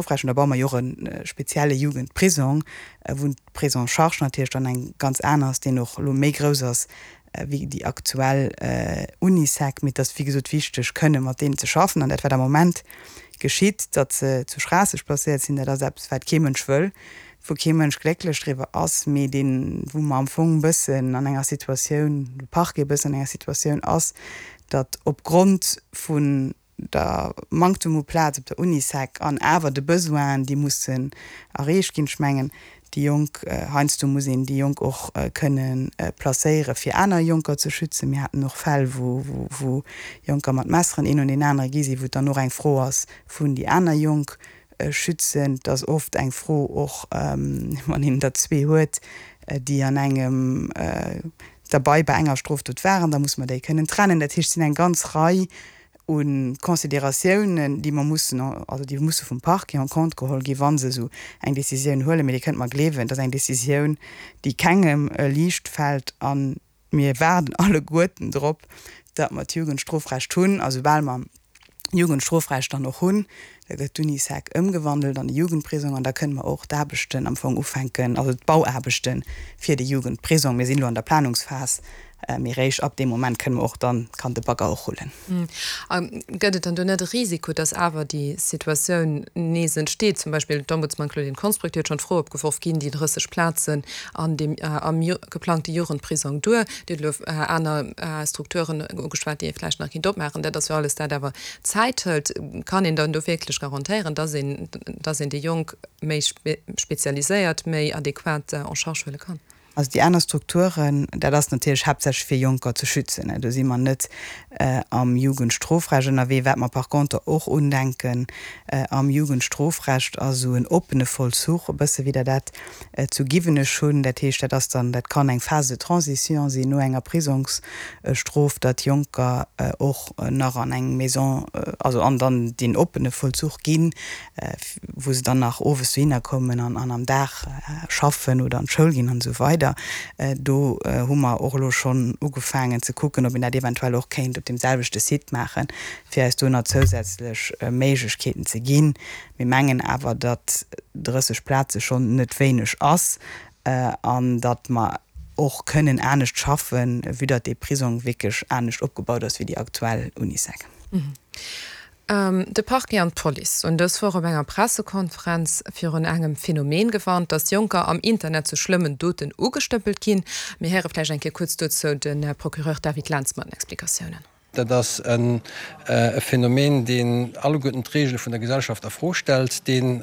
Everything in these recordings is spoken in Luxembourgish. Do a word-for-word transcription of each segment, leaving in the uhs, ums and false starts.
Strofrecht. An da baue mer jo och e spezielle Jugendprisong, wou d'Prise en charge natierlech dann eng ganz aner ass, deen och elo méi grouss ass wéi déi aktuell Unisec. Mee et ass wéi gesot wichteg, kënne mat deenen ze schaffen. An dat, wat am Moment geschitt, datt se zu Schraasseg placéiert sinn, dat ass eppes, wat kee Mënsch wëll, wou kee Mënsch glécklech driwwer ass, mee deen, wou mer am Fong e bëssen an enger Situatioun, de Parquet e bëssen an enger Situatioun ass, datt opgrond vun der Manktum u Plaz op der Unisec an awer de Besoinen, déi mussen erreecht ginn, ech mengen, déi Jonk, heiansdo muss een déi Jonk och kënne placéiere fir aner Jonker ze schützen. Mir haten och Fäll, wou Jonker mat Messeren een un deen anere gi sinn, wou et dann och eng Fro ass vun déi aner Jonk schützen. Et ass oft eng Fro och, wann een der zwee huet, déi an engem derbei bei enger Strofdot waren, da muss mer déi kënnen trennen. Dat heescht, et sinn eng ganz Rei u Consideratiounen, déi mer mussen, also déi musse vum Parquet en compte geholl ginn, wa se esou eng Décisioun huelen. Mee Dir kënnt mer gleewen, et ass eng Décisioun, déi kengem liicht fält. A mir waarden alleguerten drop, datt mer d'Jugendstrofrecht hunn. A soubal mer Jugendstrofrecht dann och hunn, da gëtt d'Unisec ëmgewandelt an e Jugendprisong an da kënne mer och d'Aarbechten am Fong ufänken, also d'Bauaarbechte fir de Jugendprisong. Mir sinn elo an der Planungsphas, mee réischt ab deem Moment kënne mer och dann, kann de Bagger och rullen. A gëtt et dann do net e Risiko, dass awer déi Situatioun nees entsteet? Zum Beispill d'Ombudsman Claudine Konsbrück, déi huet schonn d'Fro opgeworf, Ginn déi drësseg Plazen an deem am geplangte Jugendprisong duer? Dir hutt elo aner Strukturen ugeschwat, déi ee vläicht nach kéint opmaachen. Dat ass jo alles dat awer Zäit hëlt. Kann een dann do wierklech garantéieren, dass een, dass een déi Jonk méi spezialiséiert, méi adequat en charge huele kann? Also déi aner Strukturen, dat ass natierlech haaptsächlech fir Jonker ze schützen. Do si mer net am Jugendstrofrecht ënnerwee. Wat mer par contre och undenken am Jugendstrofrecht, ass esou en oppene Vollzuch, e bësse wéi der dat zu Giwenech hunn. Dat heescht, dat ass dann, dat kann eng Phase de transition sinn no enger Prisongsstrof, datt Jonker och nach an eng Maison, also an dann deen oppene Vollzuch ginn, wou se dann nach owes dohinner kommen an am Dag schaffen oder an d'Schoul ginn an esou weider. Do hu mer och elo schonn ugefaangen ze kucken, ob een dat eventuell och kéint op deem selwechte Site maachen, fir eis do nach zousätzlech Méiglechkeeten ze ginn. Mir mengen awer, datt drësseg Plaze schonn net wéineg ass an datt mer och kënnen anescht schaffen, vue datt dee Prisong wierklech anescht opgebaut ass wéi déi aktuell Unisec. De Parquet an d'Police hunn dës Woch op enger Pressekonferenz virun engem Phänomen gewarnt, datt Jonker am Internet zu schlëmmen Doten ugestëppelt ginn. Mir héiere vläicht eng Kéier kuerz dozou de Procureur David Lentz mat den Explikatiounen. Dat ass e Phänomen, deen alleguerten d'Reegele vun der Gesellschaft a Fro stellt, deen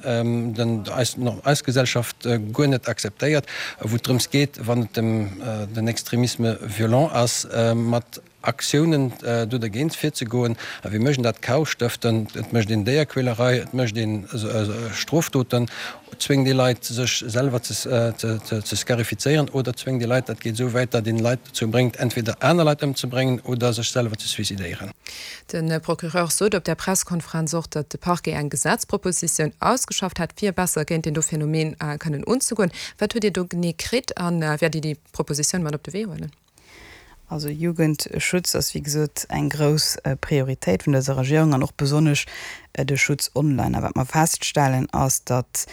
eis Gesellschaft guer net akzeptéiert, wou et drëms geet, wann et den Extremisme violent ass, mat Aktiounen do dergéint virzegoen. A wéi mécht een dat? Chaos stëften, et mécht een Déierquälerei, et mécht ee Strofdoten, zwéngt ee Leit sech selwer ze scarifizéieren oder zwéngt ee Leit, dat geet esou wäit, datt een Leit dozou bréngt entweder aner Leit ëmzebréngen oder sech selwer ze suicidéieren. De Procureur sot op där Presskonferenz och, datt de Parquet eng Gesetzpropositioun ausgeschafft hätt, fir besser géint deen do Phänomen kënnen unzegoen. Wat hutt Dir do genee kritt a wäert Dir déi Propositioun mat op de Wee huelen? Also Jugendschutz ass wéi gesot eng grouss Prioritéit vun dëser Regierung an och besonnesch de Schutz online. A wat mer feststellen ass, datt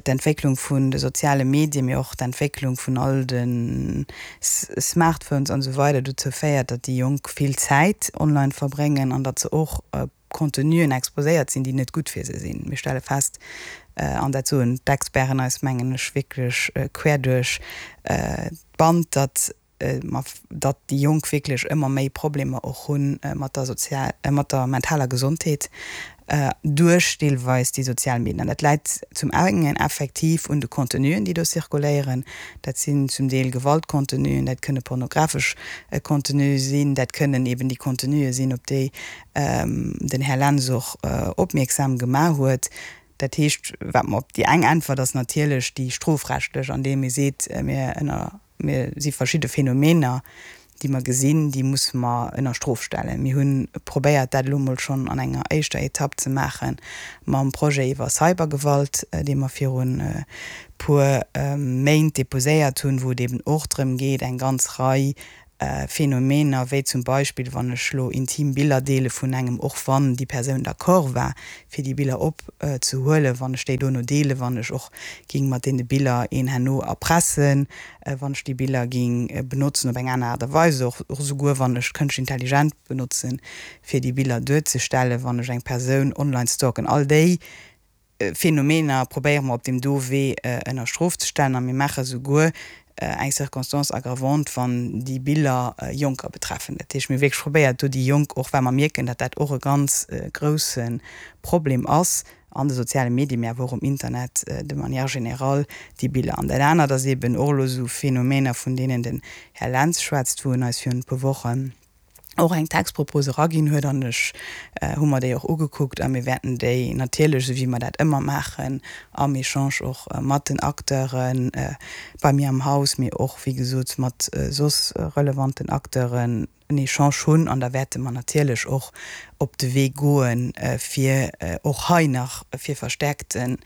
d'Entwécklung vun de soziale Medien, mee och d'Entwécklung vun all de Smartphones an esou weider dozou féiert, datt déi Jonk vill Zäit online verbréngen an datt se och Contenuen exposéiert sinn, déi net gutt fir se sinn. Mir stelle fest, an dat soen d'Experten eis, mengen ech, wierklech quer duerch d'Band, datt datt déi Jonk wierklech ëmmer méi Problemer och hu mat der sozial, mat der mentaler Gesondheet duerch deelweis déi sozial Medien. An dat läit zum engen effektiv un de Contenuen, déi do zirkuléieren. Dat sinn zum Deel Gewaltcontenuen, dat kënne pornografesch Contenue sinn, dat kënnen eben déi Contenue sinn, op déi den Här Lentz och opmierksam gemaach huet. Dat heescht, wat mer op déi eng Äntwert ass natierlech déi strofrechtlech, andeem ee seet, mir ënner, mir si verschidde Phänomener, déi mer gesinn, déi musse mer ënner Strof stellen. Mir hu probéiert, dat elo emol schonn an enger éischter Etapp ze maache mam Projet iwwer Cybergewalt, dee mer virun e puer Méint deposéiert hunn, wou et eben och drëm geet, eng ganz Rei Phänomener, wéi zum Beispill wann ech elo intim Biller deele vun engem, och wann déi Persoun d'accord war, fir déi Biller opzehuelen, wann ech déi dono deelen, wann ech och géing mat deene Biller een herno erpressen, wann ech déi Biller géing benotzen op eng aner Aart a Weis, och esouguer wann ech d'Kënschtlech Intelligent benotzen, fir déi Biller duerzestellen, wann ech eng Persoun online stalken, all déi Phänomener probéiere mer op deem do Wee ënner Strof ze stellen a mir maache souguer eng Circonstance aggravante, wann déi Biller Jonker betreffen. Dat heescht, mir hu wierklech probéiert, do déi Jonk och, well mer mierken, datt dat och e ganz grouse Problem ass an de soziale Medien, mee awer och um Internet de manière générale, déi Biller. An dat anert ass eeben och elo esou Phänomener, vun deenen den Här Lentz schwätzt, wou en eis virun e puer Wochen och eng Textpropos eraginn huet an ech hu mer déi och ugekuckt a mir wäerten déi natierlech, esou wéi mer dat ëmmer maachen, am Echange och mat den Acteure bei mir am Haus, mee och, wéi gesot, mat soss relevanten Acteuren en Echange hunn an da wäerte mer natierlech och op de Wee goen, fir och hei nach fir verstärkte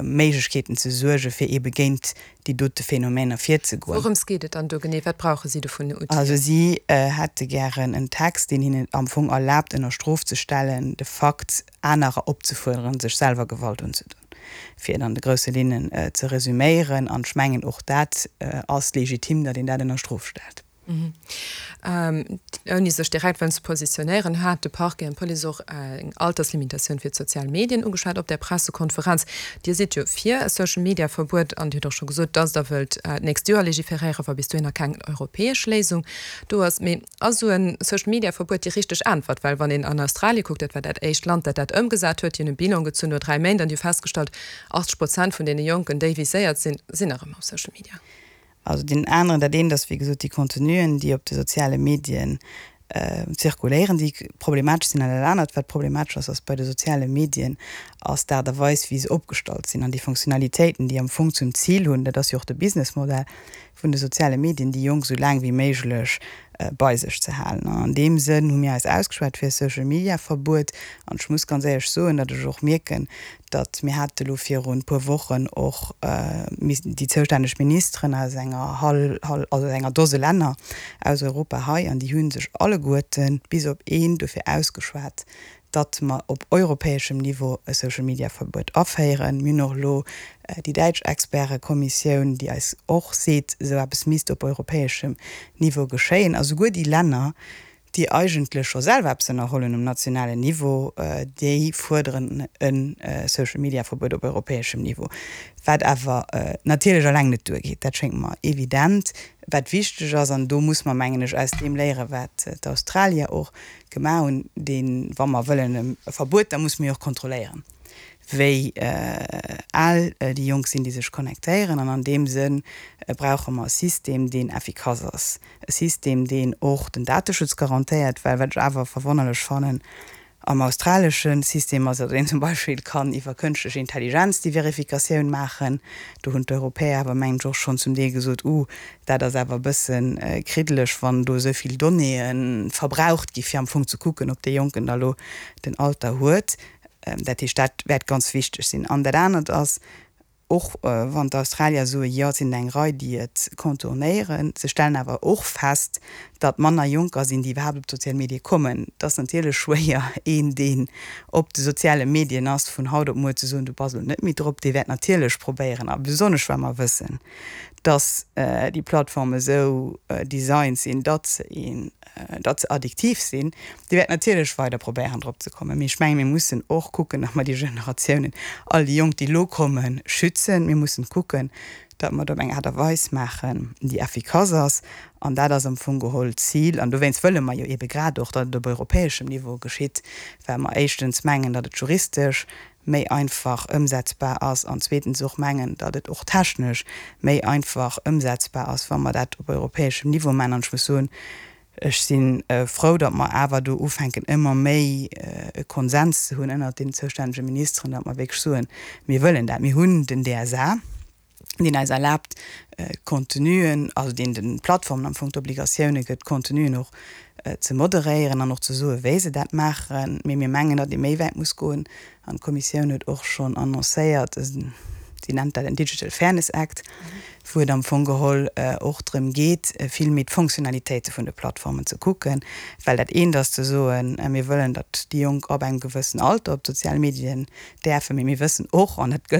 Méiglechkeeten ze suergen, fir eebe géint déi dote Phänomener virzegoen. Wourëms geet et dann do genee? Wat brauche si do vun den Outilen? Also si hätte gären en Text, deen hinnen am Fong erlaabt, ënner Strof ze stellen, de Fakt, anerer opzefuerderen, sech selwer Gewalt unzedoen, fir et an de grousse Linnen ze resüméieren. An ech mengen, och dat ass legitim, datt een dat ënner Strof stellt. Ouni sech direkt wëllen ze positionéieren, hat de Parquet an d'Police och eng Alterslimitatioun fir d'sozial Medien ugeschwat op där Pressekonferenz. Dir sidd jo fir e Social-Media-Verbuet an Dir hutt och scho gesot, datt Der wëllt d'nächst Joer legiferéieren, wa bis dohinner keng europäesch Léisung do ass. Mee ass esou e Social-Media-Verbuet déi richteg Äntwert? Well wann een an Australie kuckt, dat war dat éischt Land, dat dat ëmgesat huet, déi hunn e Bilan gezunn no dräi Méint an déi hu festgestallt, achtzeg Prozent vun deene Jonken, déi viséiert sinn, sinn nach ëmmer op Social Media. Also deen aneren, dat eent ass wéi gesot déi Contenuen, déi op de soziale Medien zirkuléieren, déi problematesch sinn. An dat anert, wat problematesch ass, ass bei de soziale Medien, ass d'Aart a Weis, wéi se opgestallt sinn an déi Fonctionnalitéiten, déi am Fong zum Zil hunn, dat ass jo och de Businessmodell vun de soziale Medien, déi Jonk esou laang wéi méiglech bei sech ze halen. An an deem Sënn hu mir eis ausgeschwat fir e Social-Media-Verbuet. An ech muss ganz éierlech soen, datt ech och mierken, datt mir hate lo virun e puer Wochen och déi zoustänneg Ministeren aus enger hal, also aus enger Dose Länner aus Europa hei an déi hu sech alleguerten, bis op een, dofir ausgeschwat, datt mer op europäeschem Niveau e Social-Media-Verbuet aféieren. Mir hunn och elo déi däitsch Expertekommissioun, déi eis och seet, esou eppes misst op europäeschem Niveau geschéien. A souguer déi Länner, déi eigentlech scho selwer eppes ënnerhollen um nationalen Niveau, déi fuerderen e Social-Media-Verbuet op europäeschem Niveau, wat awer natierlech eleng net duergeet, dat schéngt mer evident. Wat wichteg ass, an do muss mer, mengen ech, aus deem léieren, wat d'Australier och gemaach hunn, deen, wa mer wëllen e Verbuet, da muss mer jo och kontrolléieren, wéi al déi Jonk sinn, déi sech connectéieren. An an deem Sënn brauche mer e System, deen effikass ass, e System, deen och den Dateschutz garantéiert, well wat ech awer verwonnerlech fannen am australesche System ass, datt een zum Beispill kann iwwer kënschtlech Intelligenz déi Verifikatioun maachen. Do hunn d'Europäer awer, mengen ech, och schonn zum Deel gesot, Uh, dat ass awer e bësse kriddeleg, wann do esou vill Donnéeë verbraucht gi fir am Fong ze kucken, ob dee Jonken da lo den Alter huet. Dat heescht, dat wäert ganz wichteg sinn. An dat anert ass, och wann d'Australier soen, jo, et sinn eng Rei, déi et contournéieren, se stellen awer och fest, datt manner Jonker sinn, déi iwwerhaapt op d'sozial Medie kommen. Et ass natierlech schwéier, een, deen op de soziale Medien ass, vun haut op muer ze soen, du bass elo net méi drop. Dee wäert natierlech probéieren, a besonnesch well mer wëssen, datt déi Plattforme esou designt sinn, datt se een, datt se addiktiv sinn, déi wäert natierlech weider probéieren drop ze kommen. Mee ech mengen, mir mussen och kucken, datt mer déi Generatiounen, all déi Jonk, déi elo kommen, schützen. Mir mussen kucken, datt mer et op eng Aart a Weis maachen, déi effikass ass. An dat ass am Fong geholl d'Zil. An dowéinst wëlle mer jo eebe grad och, datt et op europäeschem Niveau geschitt, well mer éischtens mengen, datt et juristesch méi einfach ëmsetzbar ass an zweetens och mengen, datt et och technesch méi einfach ëmsetzbar ass, wa mer dat op europäeschem Niveau maachen. An ech muss soen, ech si frou, datt mer awer do ufänken ëmmer méi e Konsens ze hunn ënnert den zoustännege Ministeren, datt mer wierklech soen, mir wëllen dat. Mir hunn den D S A, deen eis erlaabt, d'Contenuen, also deen de Plattformen am Fong d'Obligatioune gëtt, d'Contenuen och ze moderéieren an och ze soen, wéi se dat maachen. Mee mir mengen, datt ee méi wäit muss goen. An d'Kommissioun huet och schonn annoncéiert, si nennt dat en Digital Fairness Act, wou et am Fong geholl och drëm geet, vill méi d'Fonctionnalitéite vun de Plattformen ze kucken. Well dat eent ass ze soen, mir wëllen, datt déi Jonk ab engem gewëssen Alter op d'sozial Medien däerfen, mee mir wëssen och, an dat gëllt